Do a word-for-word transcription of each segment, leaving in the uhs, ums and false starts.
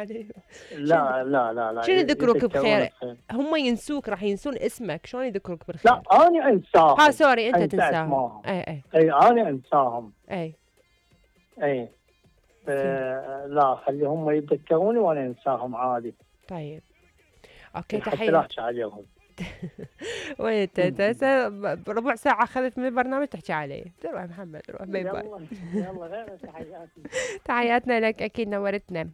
عليه. شنو لا لا لا لا شنو يذكروك يذكرون بخير؟ بخير. هم ينسوك، راح ينسون اسمك، شلون يذكروك بالخير؟ لا انا انساهم. ها سوري انت انسى تنساهم. اسمائهم. اي اي اي انا انساهم. اي اي زين. آه لا خليهم يتذكروني وانا انساهم عادي. طيب اوكي حتى لا تحية. احكي عليهم. وين انت انت هسه ربع ساعة اخذت من البرنامج تحكي علي. تروح محمد روح، باي باي. يلا يلا غير تحياتي. تحياتنا لك، اكيد نورتنا.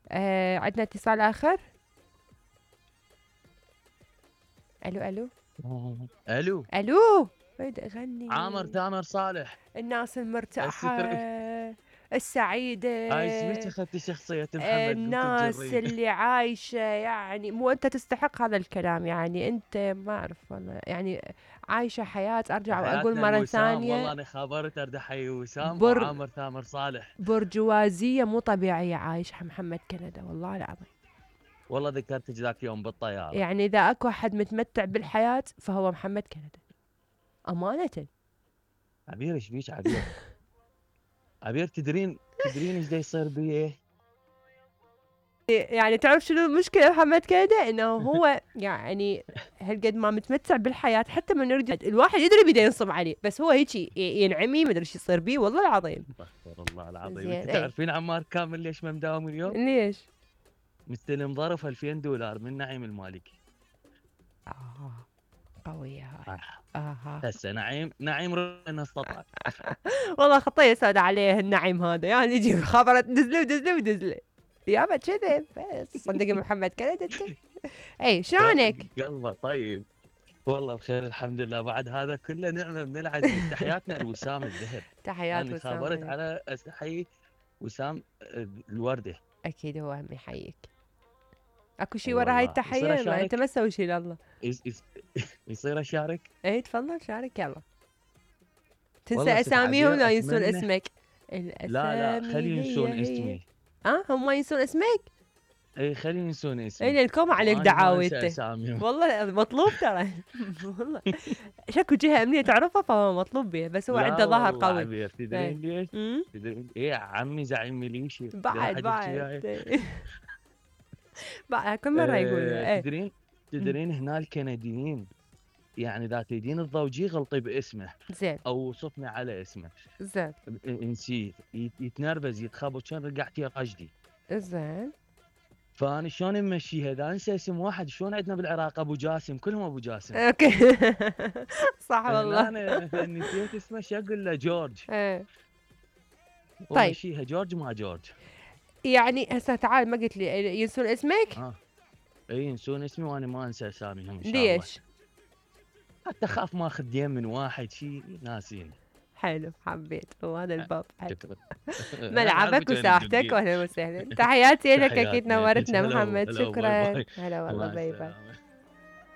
آه عندنا اتصال اخر. الو الو الو الو ويد اغني عامر تامر صالح. الناس المرتاحة السعيدة، هاي سمعت اخذت شخصية محمد الناس اللي عايشة، يعني مو انت تستحق هذا الكلام، يعني انت ما اعرف والله، يعني عايشة حياة. ارجع واقول مرة ثانية والله انا خبرت ارد احيي وسام بر... وعامر تامر صالح. برجوازية مو طبيعية عايشها محمد كندا والله العظيم. والله ذكرتك ذاك يوم بالطيارة. يعني اذا اكو احد متمتع بالحياة فهو محمد كندا أمانة. عبير ايش بيك عبير؟ عبير تدرين تدرين ايش دا يصير بيه؟ يعني تعرف شنو المشكلة محمد كندا؟ انه هو يعني هالقد ما متمتع بالحياة، حتى من يرجع الواحد يدري بده ينصب عليه، بس هو هيجي ينعمي ما ادري ايش يصير بيه والله العظيم. استغفر الله العظيم. زين، انت اي. تعرفين عمار كامل ليش ما مداوم اليوم؟ ليش؟ مستلم ظرف ألفين دولار من نعيم المالكي. اه قوية هاي. آه. اها هسه نعيم نعيم ربنا استطاع. والله خطية سودة عليه النعيم هذا، يعني يجي خبرت دزله ودزله ودزله يابا كذب. بس صدق محمد كندا انت. اي شلونك؟ قلبه طيب والله بخير الحمد لله. بعد هذا كله نعمه من العزيز. تحياتنا لوسام الذهب. تحيات انا وسام. خابرت على استحي وسام الورده. اكيد هو هم يحييك. اكو شيء أي ورا هاي والله. يصير التحية؟ ما انت أشارك؟ ما تسوي شيء لله. يس- يس- يصير اشارك؟ اي تفضل شارك يلا. تنسى والله ست اساميهم عبير لا ينسون أتمنى- اسمك. لا لا الاسامي خلي ينسون هي هي. اسمي. اه هم ما ينسون اسمك؟ اي خلي ينسون اسمي. اي لانكم عليك وأنا ما دعاوي أنسى انت. أساميهم. والله مطلوب ترى. والله شكو جهة امنية تعرفها فهو مطلوب بيه، بس هو لا عنده ظهر والله قوي. عبير تدرين ليش؟ امم تدرين ايه عمي زعيم ميليشيا. بعد واحد يحكي بعد وياي. بعد كل مرة يقولوا آه، ايه. تدرين تدرين هنا الكنديين يعني اذا تريدين تضوجيه غلطي باسمه زين او وصفني على اسمه. زين نسيت يتنرفز يتخبط كان رجعتي قجدي. زين فانا شلون نمشيها اذا انسى اسم واحد؟ شلون عندنا بالعراق ابو جاسم كلهم ابو جاسم. اوكي. صح والله. انا مثلا نسيت اسمه شو اقول له؟ جورج. ايه طيب. ومشيها جورج ما جورج. يعني هسه تعال ما قلت لي ينسون اسمك؟ اه اي ينسون اسمي وانا ما انسى اساميهم ان شاء الله. ليش؟ حتى اخاف ما اخذ دين من واحد شيء ناسين. حلو حبيت وهذا الباب حلو. شكرا. ملعبك وساحتك واهلا وسهلا. تحياتي لك، اكيد نورتنا محمد. شكرا. هلا والله باي باي.